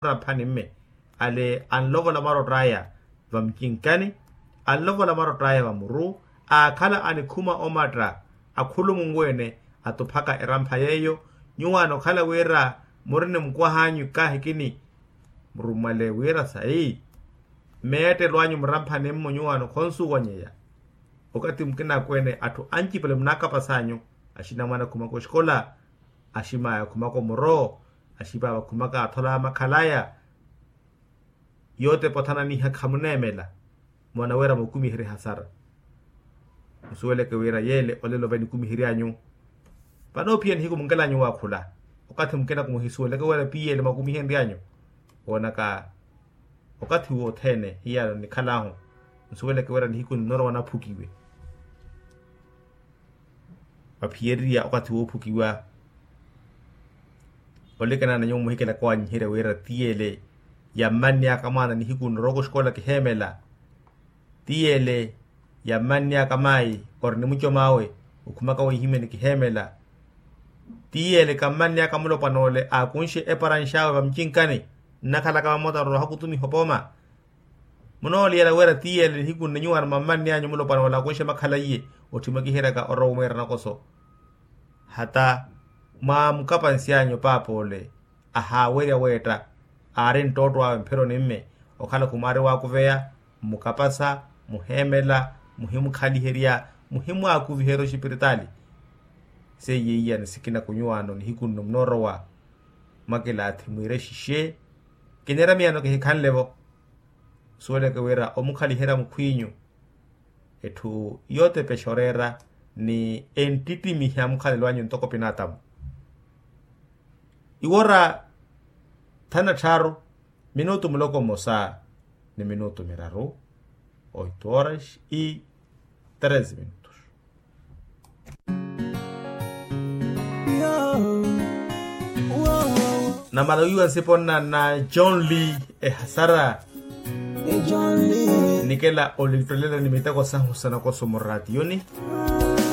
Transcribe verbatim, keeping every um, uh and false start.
Raphani mme ale anlovola marott'aya vamucinkani, anlovola marott'aya vamuru, aakhala anikhuma omatta akhulumungu ene atuphaka erampha yeeyo. Nyuwaano okhala wira muri ni mukwaha anyu kahikini murummwale wira sayi. Mmeettelo anyu muramphani mmo nyuwaano khonsuwanyeya. Okathi mukina akweene atthu ancipale munaakapasa anyu, axinamwane akhumaka oxikola, aximaya akhumaka omuro, axipaapa akhumaka athola makhalaya. Yootepa othananiha khamuneemela. Moona wira mukumiherye hasara. Musuweleke wira yeele olelo vanikumihery'anyu. Vanoophiya nihiku munkel'anyu waakhula. Okathi mukina kumuhisuweleke wira piyeele mwakumihenry'anyu. Woonaka okathi wothene hiyano nikhal'ahu. Nsuweleke wira nihiku ninorowa naphukiwe. Vaphiyererya okathi woophukiwa. Olekana na nyuwo muhikelaka owanyiherya wira tiyele yammannyaka mwaana nihiku norowa oxikola kiheemela. Tiyele yammannyaka maayi ori ni mucom'awe okhumaka wiihimyani kiheemela. Tiyele kammannyaka mulopwana ole aakunxe eparanx'awe vamucinkani. Nnakhalaka vamoota nrowa ohakutumiha opooma. Munooliyela wira tiyele nihiku nne nyuwaano mwammanny'anyu mulopwana ole akunxe makhala iye. Otthi mwakiheryaka orowa omwiira nakoso. Hata mwaamukapansy'anyu paapa ole ahaawerya weetta. Aari nttootto awe mpheroni mme okhala khumwaari waakuveya mmukapasa, muheemela, muhimukhaliherya, muhimwaakuviherya oxipiritaali. Seiye iyani sikina kunyuwaano nihiku nno munoorowa. Mwakilaathi mwiire xixe. Kineera miyano kihikhanle-vo. Nsuweleke wira omukhaliherya mukhw'inyu etthu yootepexa oreera ni enttittimiha mukhalelo anyu ntoko pinatamu. Iwora thana tthaaru minutu muloko mmosa ni minutu miraru. Oito horas y treze minutos. Namala wiiwa nsipo nna na john lee ehasara. Nikela olittolela ni miteko sahu sa nakoso muraatiyoni.